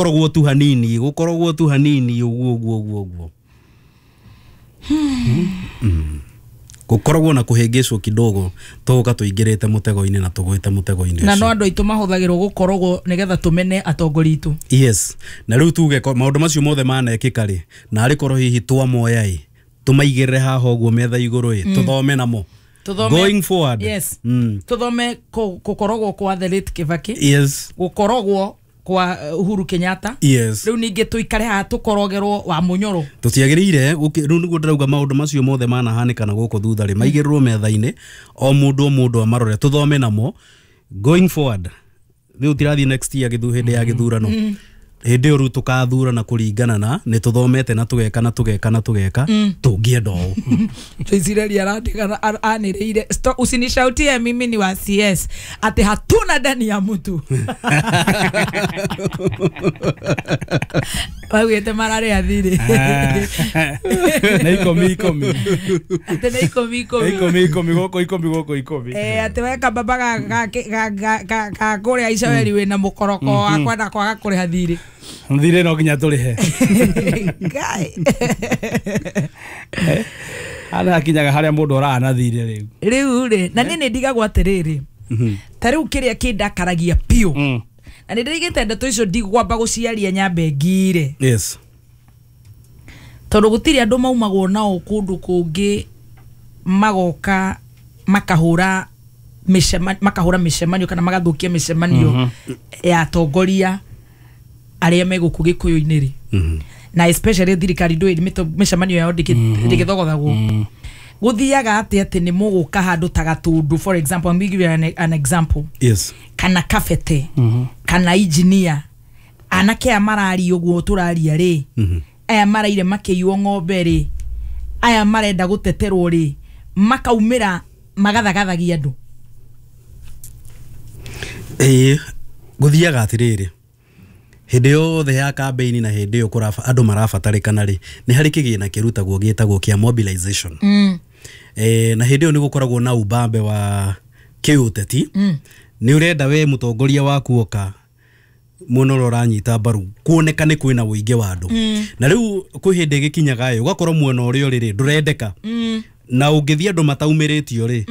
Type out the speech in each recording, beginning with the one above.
Gũkoragwo tu hanini, gũkoragwo tu hanini ũguo ũguo ũguo ũguo. Gũkoragwo na kũhĩngĩcwo kidogo, tũgoka tũingĩrĩte mũtego-inĩ na tũgwĩte mũtego-inĩ Na no ũcio. andũ aitũ mahũthagĩrwo gũkorogwo nĩgetha tũmene atongoria itũ. Yes, na rĩu tuge maũndũ macio mothe manekĩka rĩ, na arĩ korwo hihi twamoya ĩ, tũmaigĩrĩre haha ũguo metha igũrũ ĩ, tũthome namo Tũthome. Going forward. Yes. Tũthome gũkorogwo kwa the late Kibaki. Yes. Gũkorogwo kwa Uhuru Kenyatta. Yes. Rĩu ningĩ tũikare haha tũkorogerwo wa Mũnyoro. Tũtiagĩrĩire rĩu nĩguo ndĩrauga maũndũ macio mothe manahanĩka na gũkũ thutha rĩ, maigĩrĩrwo metha-inĩ, o mũndũ o mũndũ amarore, tũthome namo going forward. Rĩu tirathiĩ next year hĩndĩ ya gĩthurano, hĩndĩ ĩyo rĩu tũkathurana kũringana na nĩ tũthomete na tũgeka na tũgeka na tũgeka, tũngĩenda ũũ. Joyce arandigana anĩrĩire, "Usinishautie, mimi ni wa CS," ati hatuna ndani ya mtu waugĩte mararĩa thirĩ. Na 10 10. Atĩ nĩ 10 10. 10 10 gũkũ, 10 gũkũ, 10. Atĩ we kababa ga kũrĩa Icaweri wĩna mũkoroko wa kwenda kwaga kũrĩha thirĩ. Thirĩ no nginya tũrĩhe. Ngai. Hana hakinyaga harĩa mũndũ oraga na thirĩ rĩu. Rĩu rĩ, na niĩ nĩ ndigagwo atĩrĩrĩ, ta rĩu kĩrĩa kĩndakaragia biũ, na nĩ ndĩrigĩte ndeto icio ndigwamba gũciaria nyambe ngire. Yes. Tondũ gũtirĩ andũ maumagwo nao kũndũ kũngĩ magoka makahũra makahũra mĩcemanio kana magathũkia mĩcemanio ya atongoria arĩa me gũkũ gĩkũyũ-inĩ rĩ, na especially thirikari ndũĩ mĩcemanio yao ndĩgĩthogothagwo. Gũthiaga atĩ nĩ mũgũka handũ ta Gatũndũ, for example, I'm giving you an example. Yes. Kana Kabete, kana engineer, anake aya mararia ũguo tũraria rĩ, aya maraire makĩiywo ng'ombe rĩ, aya marenda gũteterwo rĩ, makaumĩra magathagathagia andũ. Ĩĩ, gũthiaga atĩrĩrĩ, hĩndĩ yothe ya campaign na hĩndĩ ĩyo andũ marabatarĩkana rĩ, nĩ harĩ kĩgĩna kĩrutagwo gĩtagwo kĩa mobilization. Na hĩndĩ ĩyo nĩ gũkoragwo na ubambe wa kĩũteti. Nĩ ũrenda we mũtongoria waku oka mwena ũrĩa ũranyita mbaru kuonekane kwĩna ũingĩ wa andũ. Na rĩu kwĩ hĩndĩ ĩgĩkinyaga ĩ, ũgakorwo mwena ũrĩa ũrĩ rĩ ndũrendeka, na ũngĩthiĩ andũ mataumĩrĩtio rĩ,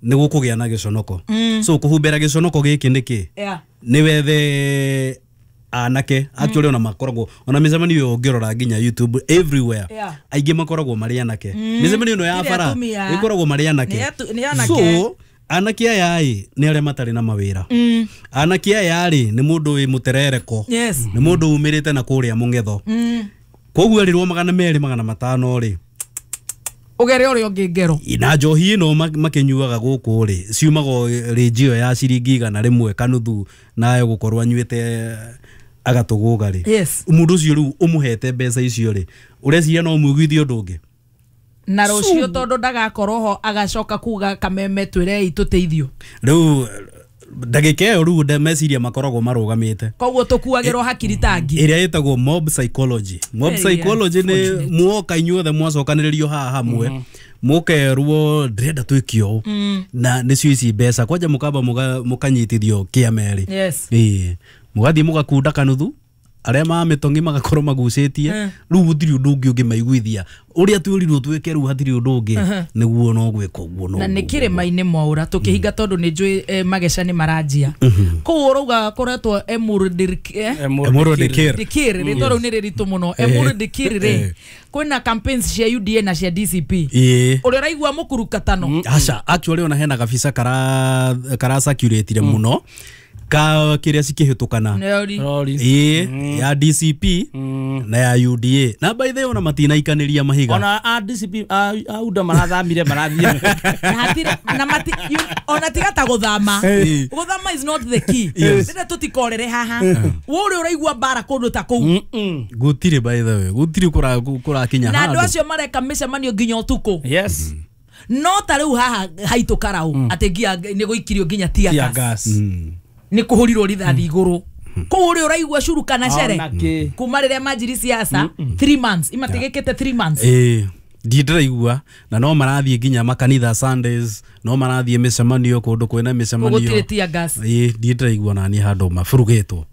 nĩ gũkũgĩa na gĩconoko. So kũhumbĩra gĩconoko gĩkĩ nĩkĩ? Nĩ wethe anake actually, ona makoragwo ona mĩcemanio ĩyo ũngĩrora nginya YouTube everywhere, aingĩ makoragwo marĩ anake. Mĩcemanio ĩno ya Tirĩ bara atumia. ĩkoragwo marĩ anake. Nĩ anake. So anake aya ĩ nĩ arĩa matarĩ na mawĩra. Anake aya rĩ, nĩ mũndũ wĩ mũterereko, nĩ mũndũ umĩrĩte na kũrĩa mũng'etho. Koguo erirwo 200 500 rĩ, ũgere ũrĩa ũngĩ ngero. Na njohi ĩno makĩnyuaga gũkũ rĩ, ciumaga rĩnji ĩyo ya ciringi 100 kanuthu, nayo gũkorwo anyuĩte agatũgũga rĩ. Yes. Mũndũ ũcio rĩu ũmũhete mbeca icio rĩ, ũreciria no ũmũiguithie ũndũ ũngĩ? Na rũciũ tondũ ndagakorwo ho agacoka kuga kameme twĩrei tũteithio. Rĩu ndagĩka ĩyo rĩu meciria makoragwo marũgamĩte. Koguo tũkuagĩrwo hakiri tangi. Ĩrĩa ĩtagwo mob psychology. Mob Very psychology nĩ unfortunate. muoka inyuothe mwacokanĩrĩrio haha hamwe, mũkerwo ndĩrenda twĩke ũũ, na nĩcio ici mbeca kwanja, mũkamba mũkanyitithio kĩama-rĩ. Yes. Ĩĩ, mũgathiĩ mũgakunda kanuthu, arĩa ma mĩtong'i magakorwo magucĩtie. Rĩu gũtirĩ ũndũ ũngĩ ũngĩmaiguithia ũrĩa twĩrirwo twĩke, rĩu hatirĩ ũndũ ũngĩ, nĩguo no gwĩka ũguo no Na nĩ ũguo. kĩrĩma-inĩ mwaũra tũkĩhinga tondũ nĩ njũĩ mageca nĩ maranjia kũu ũrauga koretwo Emuru Emuru Dikir. Dikir, rĩtwa rĩu nĩ rĩritũ mũno, Emuru Dikir rĩ, kwĩna campaigns cia UDA na cia DCP. Ĩĩ. Ũrĩa ũraigua mũkurukatano. Aca, actually ona hena gabica kara circulate mũno ka kĩrĩa cikĩhĩtũkana. Nĩori. Rori. Ĩĩ, ya DCP na ya UDA, na by the way ona matinaikanĩria mahiga. Ona a DCP a UDA marathamire marathiĩ. Na hatirĩ na mati ona tiga ta gũthama. Gũthama is not the key. Rĩrĩa tũtikorere haha we ũrĩa ũraigua mbara kũndũ ta kũu. Gũtirĩ, by the way gũtirĩ kũrakinya Na andũ handũ. acio mareka mĩcemanio nginya ũtukũ. Yes. No ta rĩu haha haitũ karau atĩ nginya nĩ gũikirio nginya tear Tear gas. gas. Nĩ kũhũrirwo rithathi igũrũ kũu ũrĩa ũraigua curu kana cere. Ona kĩ. Kuma rĩrĩa manjiri siasa 3 months imatigĩkĩte 3 months. Ĩĩ, ndiĩ ndĩraigua, na no marathiĩ nginya makanitha Sundays, no marathiĩ mĩcemanio kũndũ kwĩna mĩcemanio. Gũtirĩ tear gas. Ĩĩ, ndiĩ ndĩraigua nani handũ maburugĩtwo.